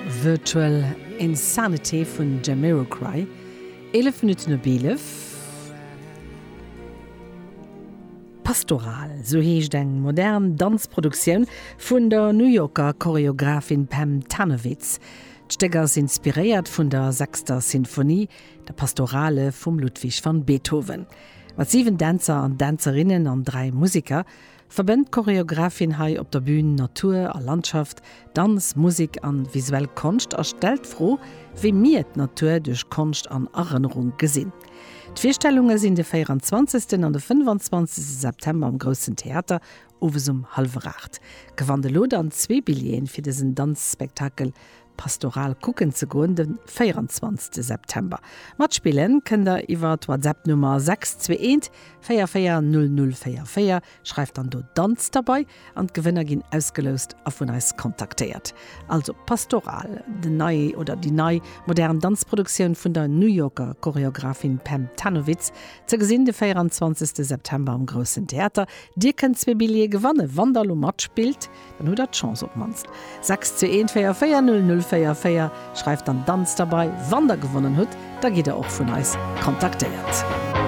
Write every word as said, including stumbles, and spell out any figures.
Virtual Insanity vun Jamiroquai. Eelef Minutten op eelef. Pastoral, sou heescht eng modern Danzproduktioun vun der New Yorker Choreographin Pam Tanowitz. D'Stéck ass inspiréiert vun der sechster Sinfonie, der Pastorale vum Ludwig van Beethoven. Mat siwen Dänzer an Dänzerinnen an dräi Museker verbënnt d'Choreographin hei op der Bün Natur a Landschaft, Danz, Musek an visuell Konscht a stellt d'Fro, wéi mir d'Natur duerch Konscht an Erënnerung gesinn. D'Virstellunge sinn de véieranzwanzegsten an de fënnefanzwanzegste September am Groussen Theater, owes um hallwer aacht. Gewannt elo dann zwee Billjeeën fir dësen Danzspektakel Pastoral kucken ze goen de véieranzwanzegste September. Matspillen kënnt der iwwer d'WhatsApp Nummer sechs zwee eent véier véier null null véier véier. Schreift dann do Danz derbei an d'Gewënner ginn ausgeloust a vun eis kontaktéiert. Also Pastoral, den nei oder déi nei modern Danzproduktioun vun der New Yorker Choreographin Pam Tanowitz, ze gesinn de véieranzwanzegste September am Groussen Theater. Dir kënnt zwee Billjeeë gewannen, wann der elo matspillt, dann hutt der d'Chance op d'mannst. Sechs zwee eent véier véier null null véier véier, schreift dann Danz derbei. Wann der gewonnen hutt, da gitt der och vun eis kontaktéiert.